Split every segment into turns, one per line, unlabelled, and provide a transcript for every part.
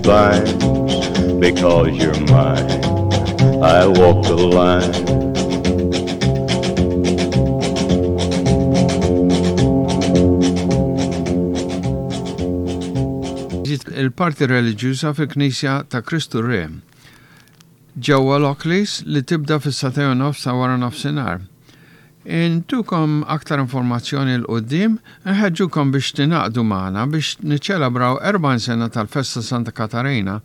vines because you're mine. I walk the line.
Il-parti reliġjuża fil-Knisja ta' Kristu Re ġewwa Lockleys li tibda fis-sagħtejn u nofs ta' wara nofsinhar. Intukom aktar informazzjoni 'l quddiem, inħeġġukom biex tingħaqdu magħna biex niċċelebraw 40 sena tal-Festa Santa Katarina.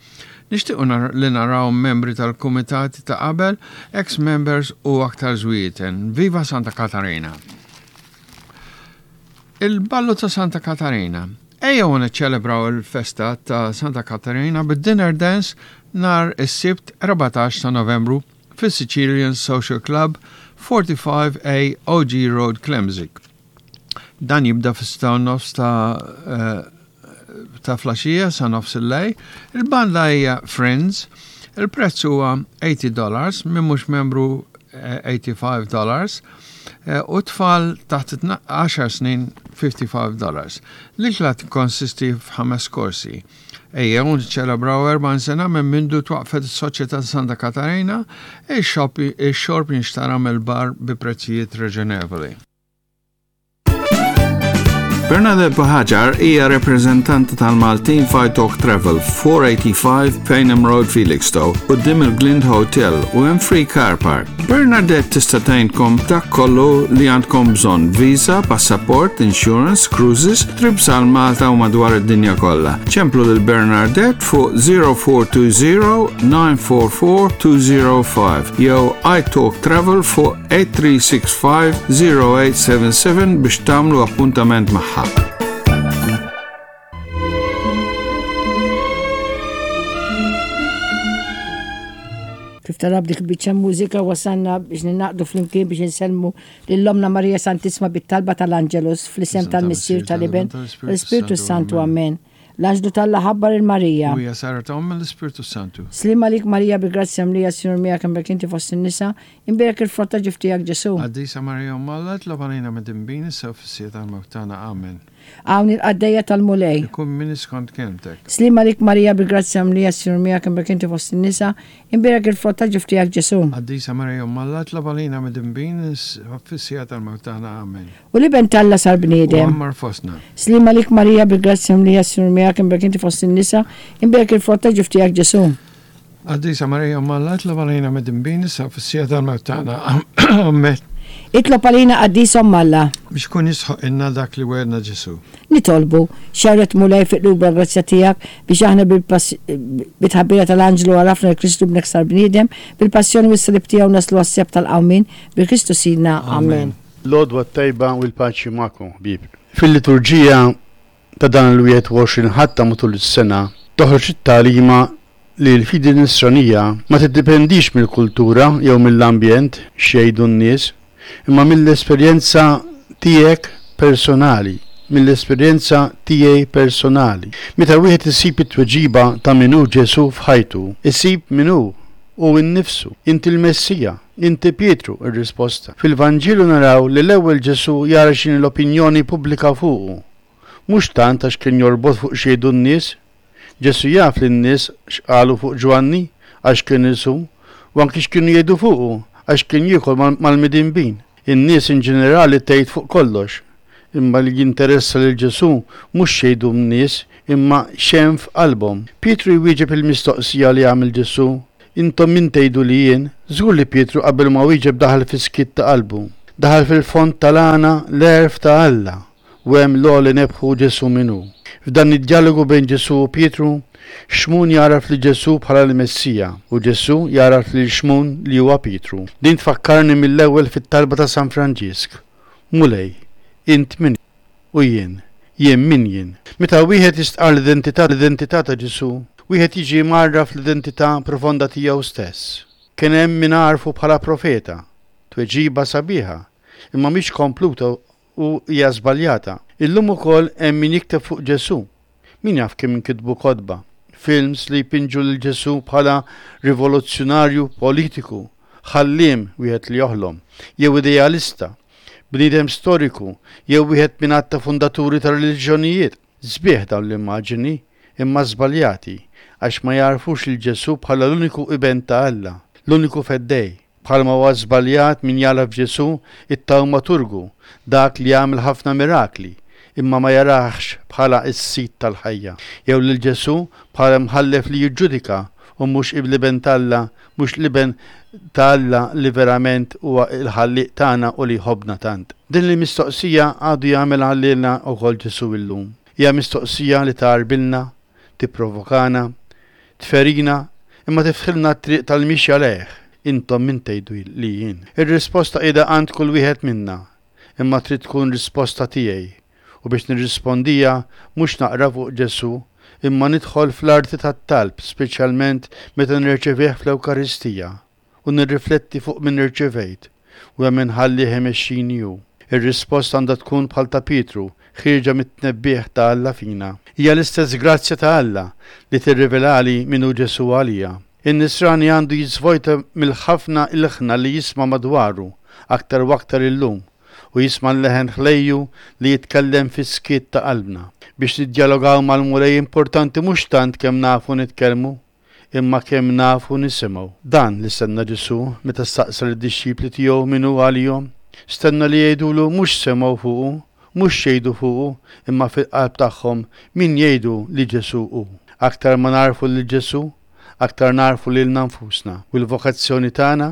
Nixtiequ li naraw membri tal-kumitati ta' qabel, ex members u aktar żwieten. Viva Santa Katarina! Il-Ballu ta' Santa Katarina. Ejjew niċċelebraw il-festa ta' Santa Katarina bid-dinner dance nhar is-Sibt 14 ta' Novembru fis-Sicilian Social Club, 45A OG Road, Klemzig. Dan jibda fis-sitta u nofs ta' eh, ta' flaxija sa nofs il-lej. Il-banda hija Friends. Il-prezz huwa 80 dollars, min mhux membru 85 eh, dollars eh, u tfal taħt 10 snin 55 dollars. L-ikla tikkonsisti f'ħames korsi. Ejjew niċċelebraw 40 sena minn mindu twaqqfet is-Soċjetà ta' Santa Katarina, ix-xorb jinxtara mill-bar bi prezzijiet raġonevoli. Bernadette Buhagiar hija rappreżentanta tal-Maltin f'Italk Travel, 485 Payneham Road, Felixstowe, quddiem il-Glind Hotel u hemm free car park. Bernadette tista' tgħinkom dak kollu li għandkom bżonn, visa, passaport, insurance, cruises, trips għal Malta u madwar id-dinja kollha. Ċemplu lil Bernadette fuq 0420 944 205 jew iTalk Travel fuq 8365 0877 biex tagħmlu appuntament magħha.
Kif tara b'dik biċċa mużika wasalna biex ninaqdu flimkien biex insellmu lil Ommna Marija Santissima bit-talba tal-Angelus fl-isem tal-Missier tal-Iben l-Ispirtu Santu. Amen. L-anġlu t'Alla ħabbar il Marija.
U hija saret omm mill-Ispirtu Santu.
Sliem għalik Marija bi grazzja mlija s-Sinjur miegħek imbierek inti fost in-nisa, imbierek il-frott ta' ġuf tiegħek Ġesù.
Qaddisa Marija Omm Alla, itlob għalina midinbin issa u fis-siegħa tal-mewt tagħna. Amen.
Hawn il-qaddejja tal-Mulej.
Ikun minni skont kelmtek.
Sliem għalik Marija bi grazzja mlija s-Sinjur miegħek imbierek inti fost in-nisa, imbierek il-frott ta' ġuf tiegħek Ġesù.
Qaddisa Marija Omm Alla, itlob għalina midinbin issa u fis-siegħa tal-mewt tagħna. Amen.
U l-Iben t'Alla sar bniedem.
U għammar fostna.
Sliem għalik Marija bi grazzja mlija s-Sinjur miegħek imbierek inti fost in-nisa, imbierek il-frott ta' ġuf tiegħek Ġesù.
Qaddisa Marija Omm Alla, itlob għalina midinbin issa u fis-siegħa tal-mewt tagħna. Amen.
Itlob għalina Qaddisa Omm Alla.
Biex ikun jistħoqqilna dak li wegħedna Ġesù.
Nitolbu, xerred Mulej fi qlubna l-grazzja tiegħek biex aħna bil-tħabbira tal-anġlu għarafna li Kristu Ibnek sar bniedem, bil-passjoni u s-salib tiegħu naslu għas-sebħ tal-qawmien, bi Kristu Sidna. Amen.
L-għodwa t-tajba u l-paċi magħkom, ħbieb. Fil-liturġija ta' dan il-21 Ħadd ta' matul is-sena toħroġ it-tagħlima li l-fidi Nisranija ma tiddipendix mill-kultura jew mill-ambjent, x'jgħidu n-nies, imma mill-esperjenza tiegħek personali, mill-esperjenza tiegħi personali. Meta wieħed isib it-tweġiba ta' min hu Ġesù f'ħajtu, isib min hu, hu nnifsu. Inti l-Messija, inti Pietru, ir-risposta. Fil-Vanġelu naraw li l-ewwel Ġesù jara x'inhi l-opinjoni pubblika fuqu. Mhux tant għax kien jorbot fuq x'jgħidu n-nies. Ġesù jaf li n-nies x'qalu fuq Ġwanni għax kien isum u anki x'kienu jgħidu fuqu għax kien jiekol mal-midinbin. In-nies in ġenerali tgħid fuq kollox. Imma li jinteressa lil Ġesù mhux x'jgħidu n-nies imma x'hemm f'qalbhom. Pietru jwieġeb il-mistoqsija li għamel Ġesù, Intom min tgħidu li jien? Żgur li Pietru qabel ma wieġeb daħal fis-skiet ta' qalbu. Daħal fil-fond tal-għana l-għerf ta' Alla. U hemm l-għoli nebħu Ġesù min hu. F'dan id-djalogu bejn Ġesù u Pietru, Xmun jagħraf lil Ġesù bħala l-Messija u Ġesù jagħraf lil Xmun li huwa Pietru. Din tfakkarni mill-ewwel fit-talba ta' San Franġisk, Mulej, int min u jien, jien min jien? Meta wieħed jistqarr l-identità l-identità ta' Ġesù, wieħed jiġi mgħarraf l-identità profonda tiegħu stess. Kien hemm min għarfu bħala profeta. Tweġiba sabiħa, imma mhix kompluta u hija żbaljata. Illum ukoll hemm min jikteb fuq Ġesù. Min jaf kemm inkitbu kotba, films li jpinġu lil Ġesù bħala rivoluzzjonarju politiku, ħalliem, wieħed li joħlom, jew idealista, bniedem storiku, jew wieħed minn għadd ta' fundaturi ta' reliġjonijiet. Sbieħ dawn l-immaġini, imma żbaljati. għax ma jagħrfux lil Ġesù bħala l-uniku Iben ta' Alla, l-uniku Feddej. Bħalma huwa żbaljat min jagħraf f'Ġesù it-tawmaturgu, dak li jagħmel ħafna mirakli, imma ma jarahx bħala s-Sid tal-ħajja. Jew lil Ġesù bħala imħallef li jiġġudika u mhux l-Iben t'Alla, mhux l-Iben ta' Alla li verament huwa l-Ħallieq tagħna u li jħobbna tant. Din il-mistoqsija għadu jagħmilha lilna wkoll Ġesù illum. Hija mistoqsija li tgħarbilna, tipprovokana, tferina, imma tiftħilna t-triq tal-mixja lejh, Intom min tgħidu li jien? Ir-risposta qiegħda għand kull wieħed minna, imma trid tkun risposta tiegħi, u biex nirrispondiha mhux naqra fuq Ġesù, imma nidħol fl-arti tat-talb speċjalment meta nirċevih fl-Ewkaristija u nirrifletti fuq min irċevejt u hemm inħallih imexxini hu. Ir-risposta għandha tkun bħal ta' Pietru, ħierġa mit-tnebbiħ ta' Alla fina. Hija l-istess grazzja ta' Alla li tirrivelali min hu Ġesù għalija. In-Nisrani għandu jiżvojta mill-ħafna ilħna li jisma' madwaru, aktar u aktar illum, u jisma' l-leħen ħlejju li jitkellem fis-skiet ta' qalbna. Biex niddjalogaw mal-Mulej importanti mhux tant kemm nafu nitkellmu, imma kemm nafu nisimgħu. Dan li stenna Ġesù meta staqsa lid-dixxipli tiegħu min hu għalihom. Stenna li jgħidulu mhux x'semgħu fuqu, mhux x'jgħidu fuqu, imma fil-qalb tagħhom min jgħidu li Ġesù hu. Aktar ma nagħrfu lil Ġesù, aktar nagħrfu lilna nfusna. U l-vokazzjoni tagħna,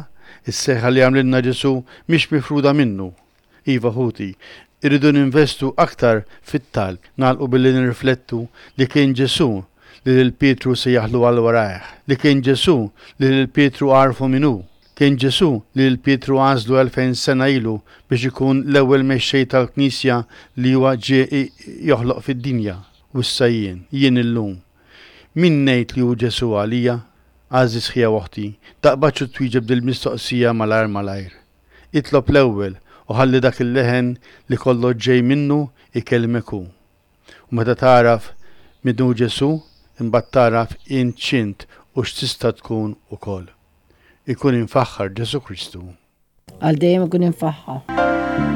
is-sejħa li għamlilna Ġesù mhix mifruda minnu. Iva ħuti, irridu ninvestu aktar fit-talb. Nagħlqu billi nirriflettu li kien Ġesù li lil Pietru sejjaħlu għal warajh, li kien Ġesù li lil Pietru għarrfu min hu. Kien Ġesù li lil Pietru għażlu 2000 sena ilu biex ikun l-ewwel mexxej tal-Knisja li huwa ġie joħloq fid-dinja. U issa jien, jien illum. Min ngħid li hu Ġesù għalija? Għażiż ħija u oħti, taqbadx u twieġeb dil-mistoqsija malajr malajr. Itlob l-ewwel u ħalli dak il-leħen li kollox ġej minnu jkellmek hu. U meta tagħraf min hu Ġesù, imbagħad tagħraf int x'int u x'tista' tkun ukoll. Ikun imfaħħar Ġesù Kristu.
Għal dejjem ikun imfaħħar.